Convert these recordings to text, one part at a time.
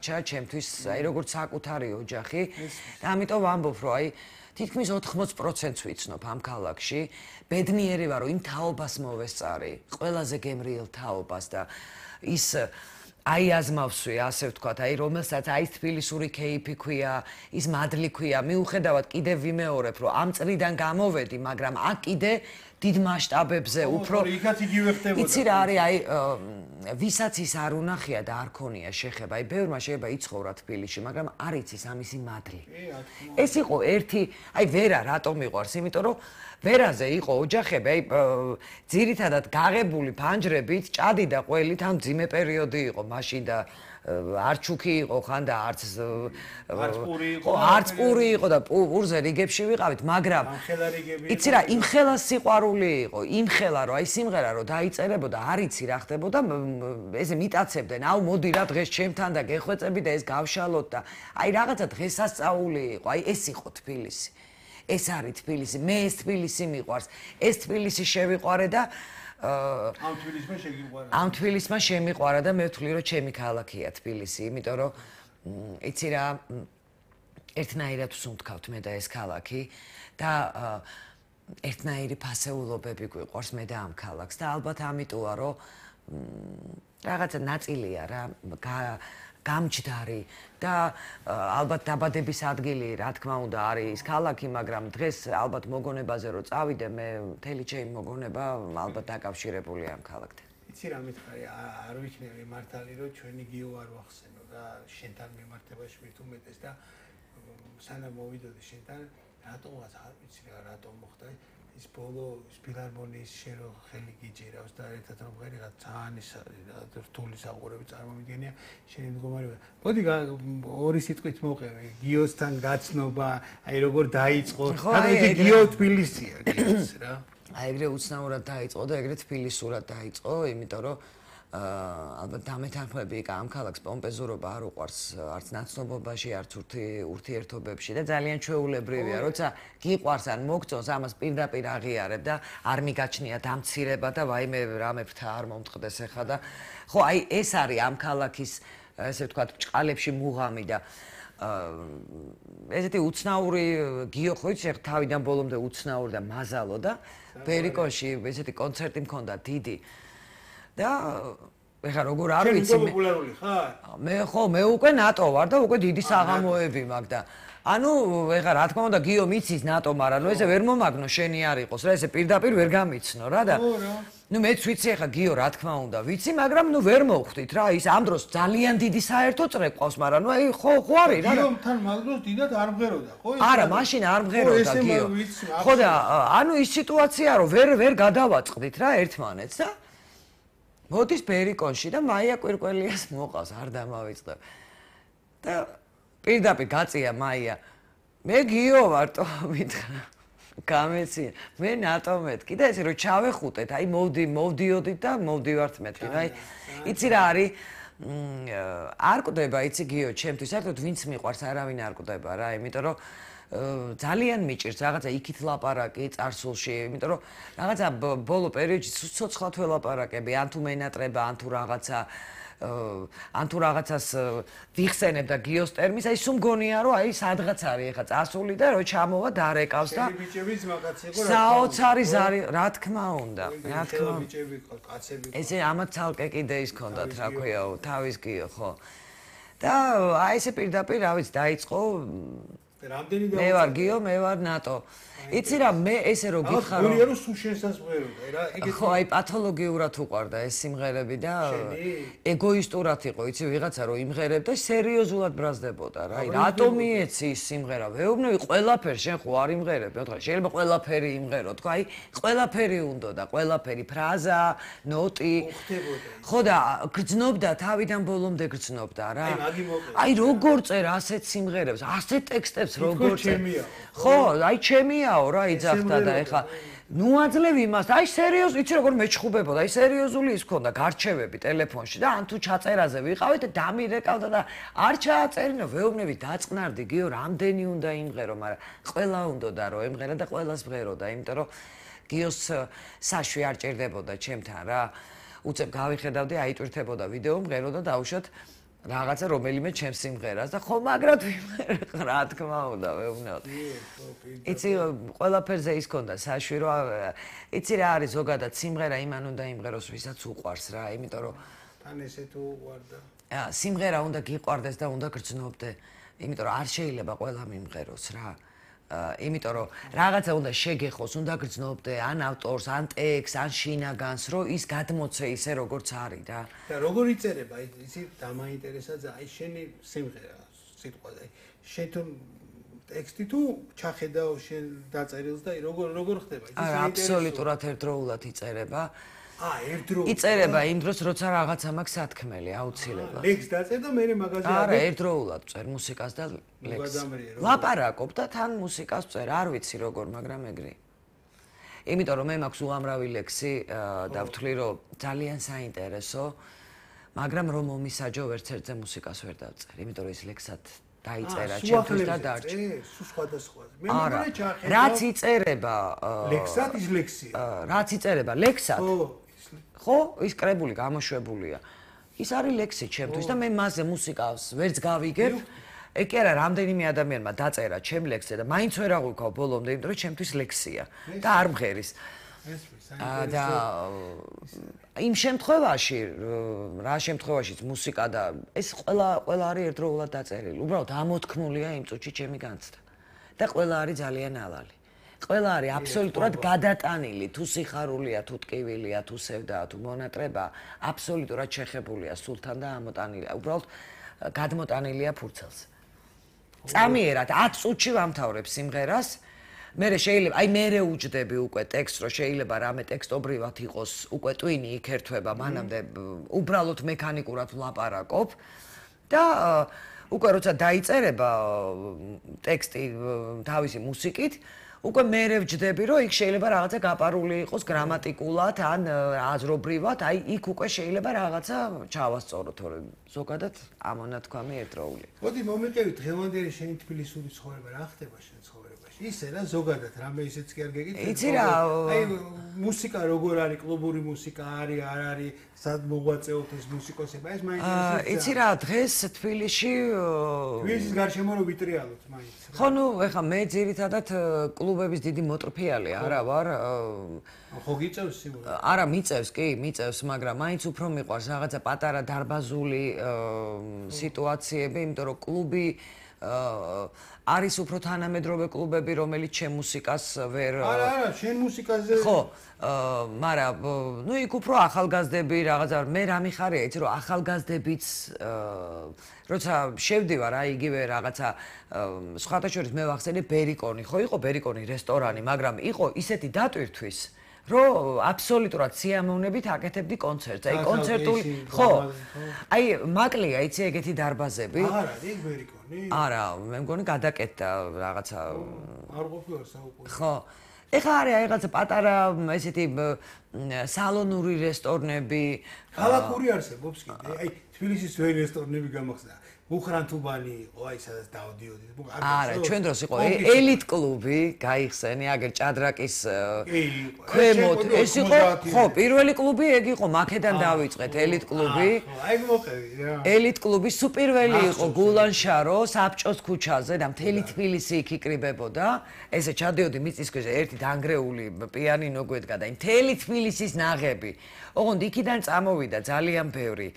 ჩემთვის აი როგორც საკუთარი ოჯახი და ამიტომ ვამბობ რომ აი თითქმის 80%-ს ვიცნობ ამ ქალაქში ბედნიერი ვარ რომ იმ თაობას მოვესწარი ყველაზე გემრიელ თაობას და ის აი აზმავსვი ასე ვთქვათ აი რომელსაც აი თბილისური კეიფი ქვია ის მადლი ქვია მიუხედავად კიდევ ვიმეორებ რომ ამ წრიდან გამოვედი მაგრამ აქ კიდე დიდ მასშტაბებზე უფრო იქაც იგივე ხდებოდა. იცი რა არის აი ვისაც ის არ უნახია და არ ქონია შეხება აი ბევრმა შეიძლება იცხოვრა თბილისში მაგრამ არ იცის ამისი მადლი. ეს იყო ერთი აი ვერა რატომ მიყვარს იმიტომ რომ ვერაზე იყო ოჯახები აი ძირითადად გაღებული ფანჯრებით ჭადი და ყველით ამ ძიმე პერიოდი იყო მაშინ და არჩუკი იყო ხან და არც პური იყო და პურზე რიგებში ვიყავით მაგრამ იცი რა იმ ხელას სიყვარული იყო იმ ხელა რომ აი სიმღერა რომ დაიწერებოდა არ იცი რა ხდებოდა ესე მიტაცებდნენ აუ მოდი რა დღეს ჩემთან და გეხვეწები და ეს გავშალოთ და აი რაღაცა დღესასწაული იყო აი ეს იყო თბილისი ეს არის თბილისი მე ეს თბილისი მიყვარს ეს თბილისი შევიყვარე და ამ თბილისმა შემიყვარა და მე ვთვლი რომ ჩემი ქალაქია თბილისი იმიტომ რომ იცი რა ერთნაირად ვსუნთქავთ მე და ეს ქალაქი და ერთნაირი ფასეულობები გვიყვარს მე და ამ ქალაქს და ალბათ ამიტოა რომ რაღაცა ნაწილია რა გამჯდარი და ალბათ დაბადების ადგილი რა თქმა უნდა არის ის ქალაქი მაგრამ დღეს ალბათ მოგონებაზე რომ წავიდე მე მთელი ჩემი მოგონება ალბათ დაკავშირებულია ამ ქალაქთან. იცი რა მითხარი არ ვიქნები მართალი რომ ჩვენი გიო არ ვახსენო და შენთან მიმართებაში მით უმეტეს და სანამ მოვიდოდი შენთან რატომაც არ ვიცი რა რატომ მოხდა ის ბოლო ფილარმონიის შენ რო ხელი გიჭირავს და ერთად რომ ღერიღა ძალიან ის რთული საყურები წარმომიდგენია შენი მდგომარეობა. მოდი ორი სიტყვით მოყევი გიოსთან გაცნობა აი როგორ დაიწყო და გიო თბილისია გიოს რა აი ეგრე უცნაურად დაიწყო და ეგრე თბილისურად დაიწყო იმიტომ რომ ალბათ დამეთანხმები იქ ამ ქალაქს პომპეზურობა არ უყვარს არც ნაცნობობაში არც ურთიერთობებში და ძალიან ჩვეულებრივია როცა გიყვარს ან მოგწონს ამას პირდაპირ აღიარებ და არ მიგაჩნია დამცირება და ვაიმე რამე ფრთა არ მომწყდეს ახლა და ხო აი ეს არის ამ ქალაქის ესე ვთქვათ ბჭყალებში მუღამი და ესეთი უცნაური გიო ხო იცი თავიდან ბოლომდე უცნაური და მაზალო და ბერიკოში ესეთი კონცერტი მქონდა დიდი და ეხა როგორ არ ვიცი მე პოპულარული ხარ? მე ხო მე უკვე ნატო ვარ და უკვე დიდი საღამოები მაქვს და ანუ ეხა რა თქმა უნდა გიო მიცის ნატო მაგრამ ნუ ესე ვერ მომაგნო შენი არ იყოს რა ესე პირდაპირ ვერ გამიცნო რა და ნუ მეც ვიცი ეხა გიო რა თქმა უნდა ვიცი მაგრამ ნუ ვერ მოვხვდით რა ის ამ დროს ძალიან დიდი საერთო წრე ყავს მაგრამ ნუ აი ხო არის რა გიომთან მაგდროს დიდად არ მღეროდა ხო არა მაშინ არ მღეროდა გიო ხო და ანუ ის სიტუაცია რომ ვერ გადავაწყდით რა ერთმანეთს და მოდის ბერიკონში და მაია კვირკველიას მოყავს არ დამავიწყებ და პირდაპირ გაწია მაია მე გიო ვარტო მითხრა გამეცია მე ნატო მეთქი და ესე რომ ჩავეხუტეთ აი მოვდიოდით და მოვდივართ მეთქი აი იცი რა არის არ კვდება იცი გიო ჩემთვის საერთოდ ვინც მიყვარს არავინ არ კვდება რა იმიტომ რომ ძალიან მიჭირს რაღაცა იქით ლაპარაკი წარსულში იმიტომ რომ რაღაცა ბოლო პერიოდში ცოცხლად ველაპარაკები ან თუ მენატრება ან თუ რაღაცას ვიხსენებ და გიოს ტერმინს აი სულ მგონია რომ აი სადღაც არის ეხა წასული და რო ჩამოვა დარეკავს და ბიჭების მაგაც იყო საოცარი ზარი რა თქმა უნდა რა თქმა უნდა ბიჭები კაცები ესე ამათ ცალკე კიდე ის ქონდათ რა ქვია თავის გიო ხო და აი ესე პირდაპირ რა ვიცი დაიწყო რამდენი და მე ვარ გიო მე ვარ ნატო იცი რა მე ესე რო გიხარო გონია რომ სულ შენსაც მღეროდა რა ეგეთი ხო აი პათოლოგიურად უყვარდა ეს სიმღერები და ეგოისტურად იყო იცი ვიღაცა რო იმღერებდა სერიოზულად ბრაზდებოდა რა აი რატო მიეცი ის სიმღერა ვეუბნები ყველაფერს შენ ხო არ იმღერებ მე ვთქვა შეიძლება ყველაფერი იმღერო თქვა აი ყველაფერი უნდა და ყველაფერი ფრაზა ნოტი ხო და გრძნობდა თავიდან ბოლომდე გრძნობდა რა აი როგორ წერ ასეთ სიმღერებს ასეთ ტექსტებს როგორ წერ ხო აი ჩემიაო რა იძახდა და ეხა ნუ აძლევ იმას აი სერიოზ იცი როგორ მეჩხუბებოდა აი სერიოზული ის ქონდა გარჩევები ტელეფონში და ან თუ ჩაწერაზე ვიყავით და დამირეკავდა და არ ჩააწერინა ვეუბნები დაწყნარდი გიო რამდენი უნდა იმღერო მაგრამ ყველა უნდოდა რომ ემღერა და ყველას მღეროდა იმიტომ რომ გიოს საშვი არ ჭირდებოდა ჩემთან რა უცებ გავიხედავდი აიტვირთებოდა ვიდეო მღეროდა დაუშვათ რაღაცა რომელიმე ჩემს სიმღერას და ხო მაგრად ვიმღერე რა თქმა უნდა ვეუბნებოდ. იცი ყველაფერზე ის ქონდა საშვირო იცი რა არის ზოგადად სიმღერა იმან უნდა იმღეროს ვისაც უყვარს რა იმიტომ რომ თან ესე თუ უყვარდა სიმღერა უნდა გიყვარდეს და უნდა გრძნობდე იმიტომ რომ არ შეიძლება ყველა მიმღეროს რა იმიტომ რომ რაღაცა უნდა შეგეხოს, უნდა გრძნობდე ან ავტორს, ან ტექსტს, ან შინაგანს, რომ ის გადმოცე ისე როგორც არის რა. და როგორ იწერება, იცი, დამაინტერესა აი შენი სიმღერა, სიტყვაზე. შენ თუ ტექსტი თუ ჩახედავ შენ დაწერილს და როგორ ხდება? აბსოლუტურად ერთდროულად იწერება. ერთდროულად. იწერება იმ დროს, როცა რაღაცა მაქვს სათქმელი, აუცილებლად. ლექს დაწერ და მე მაგაზე არა, ერთდროულად წერ მუსიკას და ლექს. ლაპარაკობ და თან მუსიკას წერ, არ ვიცი როგორ, მაგრამ ეგრე. იმიტომ რომ მე მაქვს უამრავი ლექსი და ვთვლი რომ ძალიან საინტერესო, მაგრამ რომ მომისაჯო ვერცერთზე მუსიკას ვერ დავწერ, იმიტომ რომ ის ლექსად დაიწერა ჩემთვის და დარჩა. სულ სხვადასხვა. მე მეგონა ჩახედავ. რაც იწერება ლექსად ის ლექსია. რაც იწერება ლექსად. ხო, ის კრებული გამოშვებულია. ის არის ლექსი ჩემთვის და მე მასზე მუსიკას ვერც გავიგებ. ეგ კი არა, რამდენიმე ადამიანმა დაწერა ჩემ ლექსზე და მაინც ვერ აღვიქავ ბოლომდე, იმიტომ რომ ჩემთვის ლექსია და არ მღერის. და იმ შემთხვევაში, რა შემთხვევაშიც მუსიკა და ეს ყველა არის ერთდროულად დაწერილი. უბრალოდ ამოთქმულია იმ წუთში ჩემი განცდა. და ყველა არის ძალიან ალალი. ყველა არის აბსოლუტურად გადატანილი, თუ სიხარულია, თუ ტკივილია, თუ სევდაა, თუ მონატრება, აბსოლუტურად შეხებულია სულთან და ამოტანილია. უბრალოდ გადმოტანილია ფურცელზე. წამიერად 10 წუთში ვამთავრებ სიმღერას. მერე შეიძლება, აი მერე უჯდები უკვე ტექსტს, რომ შეიძლება რამე ტექსტობრივად იყოს, უკვე ტვინი იქ ერთვება, მანამდე უბრალოდ მექანიკურად ვლაპარაკობ და უკვე როცა დაიწერება ტექსტი თავისი მუსიკით, უკვე მერე ვჯდები, რომ იქ შეიძლება რაღაცა გაპარული იყოს გრამატიკულად ან აზრობრივად, აი იქ უკვე შეიძლება რაღაცა ჩავასწოროთ, თორემ ზოგადად ამონათქვამი ერთდროული. მოდი მომიყევით დღევანდელი შენი თბილისური ცხოვრება, რა ხდება შენ ცხოვრებაში? ისე რა ზოგადად რამე ისეც კი არ გეკითხე. იცი რა, აი მუსიკა როგორ არის, კლუბური მუსიკა არის, არ არის, სად მოღვაწეობთ ეს მუსიკოსები? ეს მაინტერესებს. იცი რა, დღეს თბილისში თბილისის გარშემო რო ვიტრიალოთ მაინც. ხო, ნუ ეხა მე ძირითადად კლუბების დიდი მოტრფიალი არა ვარ. ხო გიწევს სიმღერა? არა, მიწევს, კი, მიწევს, მაგრამ მაინც უფრო მიყვარს რაღაცა პატარა დარბაზული სიტუაციები, იმიტომ რომ კლუბი არის უფრო თანამედროვე კლუბები, რომელიც ჩემ მუსიკას ვერ არა, შენ მუსიკაზე ხო, მაგრამ ნუ იქ უფრო ახალგაზრდები რაღაცა მე რა მიხარია, იცი რომ ახალგაზრდებიც როცა შევდივარ აი იგივე რაღაცა სხვათა შორის მე ვახსენე ბერიკონი, ხო იყო ბერიკონი რესტორანი, მაგრამ იყო ისეთი დატვირთვის რომ აბსოლუტურად სიამოვნებით აკეთებდი კონცერტს. აი კონცერტული ხო. აი მაკლია იცი ეგეთი დარბაზები. არა, იქ ბერიკონი. არა, მე მგონი გადაკეთდა რაღაცა. არ ყოფილა საუბრობ. ხო. ეხლა არის რაღაცა პატარა ესეთი სალონური რესტორნები. ქალაქური არსებობს კიდე. აი თბილისის ძველი რესტორნები გამახსნა. უხრანთუბანი იყო, აი სადაც დავდიოდი. არა, ჩვენ დროს იყო ელიტ კლუბი, გაიხსენი, აგერ ჭადრაკის ქვემოთ. ეს იყო, ხო, პირველი კლუბი ეგ იყო, მაქედან დავიწყეთ ელიტ კლუბი. აი მოყევი რა. ელიტ კლუბი სუპირველი იყო გულანშარო, საბჭოს ქუჩაზე და მთელი თბილისი იქ იკრიბებოდა. ესე ჩადიოდი მიწის ქვეშ ერთი დანგრეული პიანინო გვედგა და მთელი თბილისის ნაღები. ოღონდ იქიდან წამოვიდა ძალიან ბევრი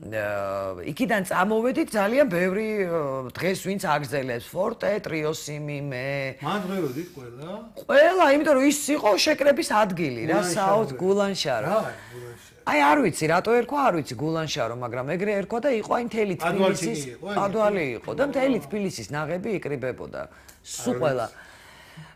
იქიდან წამოვედით ძალიან ბევრი დღეს ვინც აგზელებს ფორტე, ტრიოსიმი, მე. მან ღეროდით ყველა? ყველა, იმიტომ რომ ის იყო შეკრების ადგილი რა, საუთ გულანშარო. რა, გულანშარო. აი არ ვიცი, რატო ერქვა, არ ვიცი გულანშარო, მაგრამ ეგრე ერქვა და იყო აი მთელი თბილისის ადვალი იყო და მთელი თბილისის ნაღები იკრიბებოდა. სულ ყველა.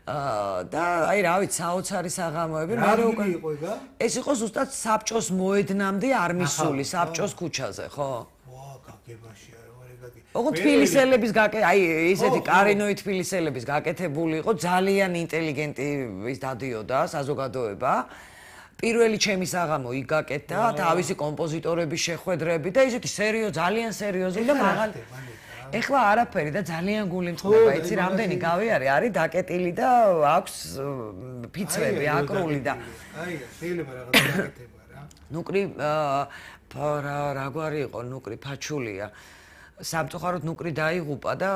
და აი რა ვიცი, საოცარი საღამოები, მაგრამ უკვე იყო ეგა? ეს იყო ზუსტად საბჭოს მოედნამდე არმისული, საბჭოს ქუჩაზე, ხო? ვა, გაგებაშია რა ეგეთი. ოღონდ თბილისელების აი ესეთი კარინოი თბილისელების გაკეთებული იყო, ძალიან ინტელიგენტი ის დადიოდა საზოგადოება. პირველი ჩემი საღამო იქ გაკეთდა, თავისი კომპოზიტორების შეხვედრები და ისეთი ძალიან სერიოზული და მაღალი ეხლა არაფერი და ძალიან გული მწყდება, იცი რამდენი გავიარე, არის დაკეტილი და აქვს ფიცრები, აკრული და აი, შეიძლება რაღაც დაკეთება რა. ნუკრი რა გვარი იყო, ნუკრი ფაჩულია. სამწუხაროდ ნუკრი დაიღუპა და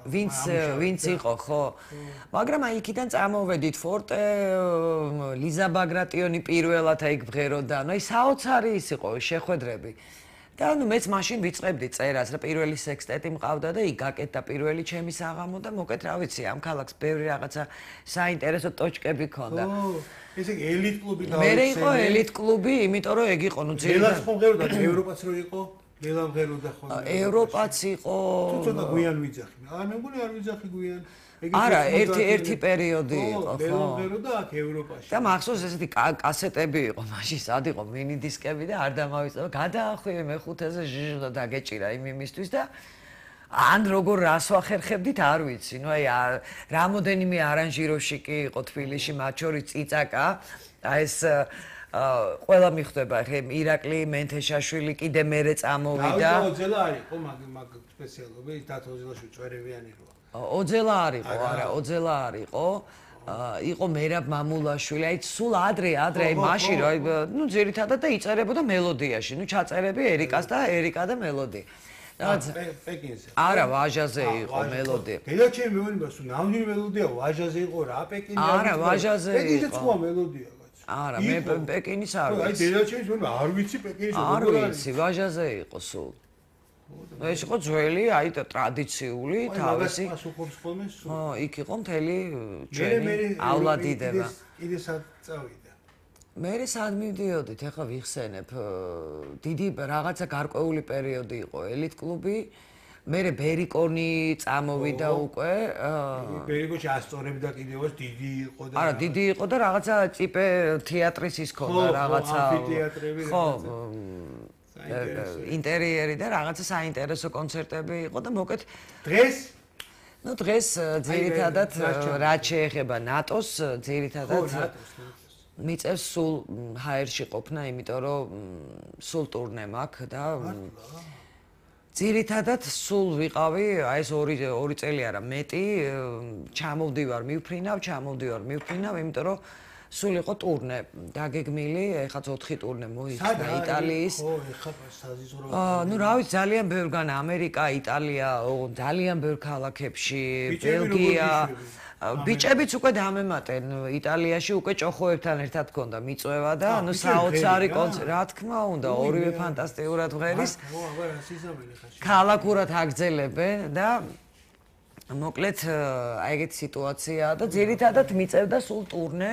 ვინც იყო ხო მაგრამ აი იქიდან წამოვედით ფორტე ლიზა ბაგრატიონი პირველად აი ბღეროდა ანუ აი საოცარი ის იყო შეხვედრები და ანუ მეც მაშინ ვიწყებდი წერას რა პირველი სექსტეტი მყავდა და იქ გაკეთდა პირველი ჩემი საღამო და მოკეთ რა ვიცი ამ ქალაქს ბევრი რაღაცა საინტერესო ტოჩკები ქონდა ესე იგი ელიტ კლუბი და მე იყო ელიტ კლუბი იმიტომ რომ ეგ იყო ნუ ძირითადად ხომღეროდა ევროპაც რო იყო ლელამღეროდა ხოლმე ევროპაც იყო ცოტა გვიან ვიძახი არა მე მგონი არ ვიძახი გვიან არა ერთი პერიოდი იყო ხო ლელამღეროდა აქ ევროპაში და მახსოვს ესეთი კასეტები იყო მაშინ სად იყო მინი დისკები და არ დამავიწყდა გადაახვიე მეხუთეზე ჟჟ დაგეჭირა იმისთვის და ან როგორ რას ვახერხებდით არ ვიცი ნუ აი რამოდენიმე არანჟიროში კი იყო თბილისში მათ შორის წიწაკა აი ეს ყველა მიხვდება ხე ირაკლი მენთეშაშვილი კიდე მერე წამოვიდა ოძელა არის ხო მაგ სპეციალობი დათო ოძელაშვილი წვერებიანი როა ოძელა არისო არა ოძელა არისო იყო მერაბ მამულაშვილი აი სულ ადრე აი მაშინ რა ნუ ძირითადად და იწერებოდა მელოდიაში ნუ ჩაწერები ერიკას და ერიკა და მელოდი პეკინზე არა ვაჟაზე იყო მელოდი დედა ჩემი მეუბნება სულ ნამდვილი მელოდია ვაჟაზე იყო რა პეკინზე არა ვაჟაზე იყო პეკინზე სხვა მელოდია არა მე პეკინის არ ვიცი აი დედა ჩემს მეუბნება არ ვიცი პეკინის არ ვიცი ვაჟაზე იყო სულ ეს იყო ძველი აი ტრადიციული თავისი ხო იქ იყო მთელი ჩვენიავლადიდება კიდე სად წავიდა მე სად მივდიოდით ახლა ვიხსენებ დიდი რაღაცა გარკვეული პერიოდი იყო ელიტ კლუბი მე ბერიკონი წამოვიდა უკვე ბერიკონში ასწორებდა კიდევაც დიდი იყო და არა დიდი იყო და რაღაცა ტიპე თეატრის ის ქონდა რაღაცა ხო ინტერიერი და რაღაცა საინტერესო კონცერტები იყო და მოკეთ დღეს ნუ დღეს ძირითადად რაც შეეხება ნატოს ძირითადად მიწევს სულ ჰაერში ყოფნა იმიტომ რომ სულ ტურნე მაქვს და ძირითადად სულ ვიყავი აი ეს ორი წელი არა მეტი ჩამოვდივარ მივფრინავ იმიტომ რომ სულ იყო ტურნე დაგეგმილი ეხაც 4 ტურნე მოიხსნა იტალიის ხო ეხა საზიზრო ნუ რა ვიცი ძალიან ბევრგან ამერიკა იტალია ძალიან ბევრ ქალაქებში ბელგია ბიჭებიც უკვე დამემატენ იტალიაში უკვე ჭოხოებთან ერთად ქონდა მიწვევა და ანუ საოცარი კონცერტი რა თქმა უნდა ორივე ფანტასტიკურად ღერის ქალაქურად აგრძელებენ და მოკლედ აი ეგეთი სიტუაციაა და ძირითადად მიწევდა სულ ტურნე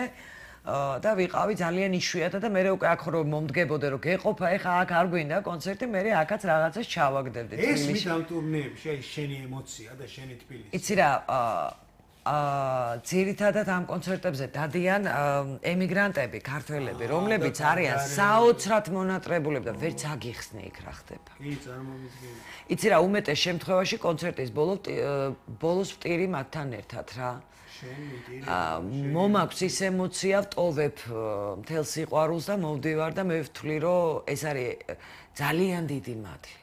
და ვიყავი ძალიან იშვიათად და მე უკვე აქ რომ მომდგებოდე რომ გეყოფა ეხა აქ არ გვინდა კონცერტი მე აქაც რაღაცას ჩავაგდებდი თბილისში ეს მით ამ ტურნეებში აი შენი ემოცია და შენი თბილისი იცი რა ძირითადად ამ კონცერტებზე დადიან ემიგრანტები, ქართველები, რომლებიც არიან საოცრად მონატრებულები და ვერც აგიხსნე იქ რა ხდება. კი, წარმომიდგენია. იცი რა, უმეტეს შემთხვევაში კონცერტის ბოლოს ვტირი მათთან ერთად რა. მომაქვს ის ემოცია, ვტოვებ მთელ სიყვარულს და მოვდივარ და მე ვთვლი, რომ ეს არის ძალიან დიდი მადლი.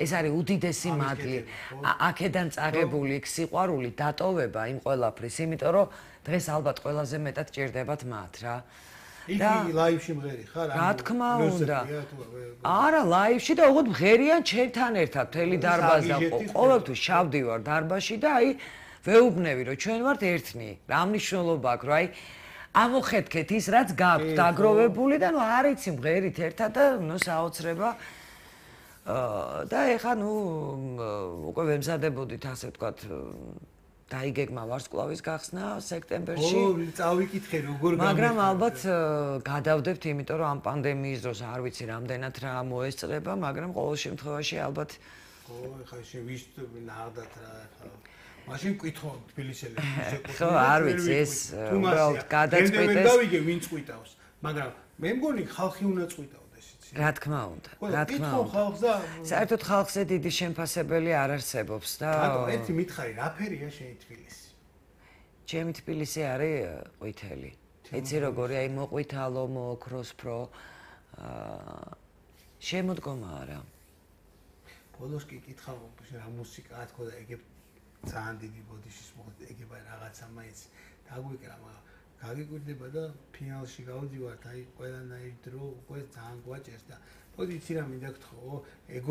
ეს არის უდიდესი მადლი. აქედან წაღებული იქ სიყვარული დატოვება იმ ყველაფრის, იმიტომ რომ დღეს ალბათ ყველაზე მეტად ჭირდებათ მათ რა. და ლაივში მღერი ხარ? რა თქმა უნდა. არა, ლაივში და უღოდ მღერიან ჩემთან ერთად მთელი დარბაზი და ყოველთვის შავდივარ დარბაზში და აი ვეუბნები რომ ჩვენ ვართ ერთნი. რა მნიშვნელობა აქვს, რომ აი ამოხეთქეთ ის რაც გაქვთ დაგროვებული და ნუ არ იცი მღერით ერთად და ნუ საოცრება და ეხა ნუ უკვე ვემზადებოდით ასე ვთქვათ დაიგეგმა ვარსკვლავის გახსნა სექტემბერში. ო, წავიკითხე როგორ გამიხარ. მაგრამ ალბათ გადავდებთ, იმიტომ რომ ამ პანდემიის დროს არ ვიცი რამდენად რა მოესწრება, მაგრამ ყოველ შემთხვევაში ალბათ ო, ეხა ვის ნახდათ რა ეხა. მაშინ კითხო თბილისელებს შეკუთვნილ. ხო, არ ვიცი ეს უბრალოდ გადაწყვიტეს. დავიგე ვინ წყვიტავს, მაგრამ მე მგონი ხალხი უნდა წყვიტავდეს იცი. რა თქმა უნდა, რა თქმა უნდა. ხალხს და საერთოდ ხალხზე დიდი შემფასებელი არ არსებობს და ბატონო, ერთი მითხარი, რა ფერია შენი თბილისი? ჩემი თბილისი არის ყვითელი. იცი როგორი აი მოყვითალო, მოოქროსფრო შემოდგომა არა. ბოლოს კი კითხავ, რა მუსიკაა თქო და ეგ ძალიან დიდი ბოდიშის მოხდა ეგება რაღაცა მაინც დაგვიკრა, მაგრამ გაგიკვირდება და ფინალში გავდივართ, აი ყველანაირ დრო უკვე ძალიან გვაჭერს და მოდი იცი რა მინდა გთხოვო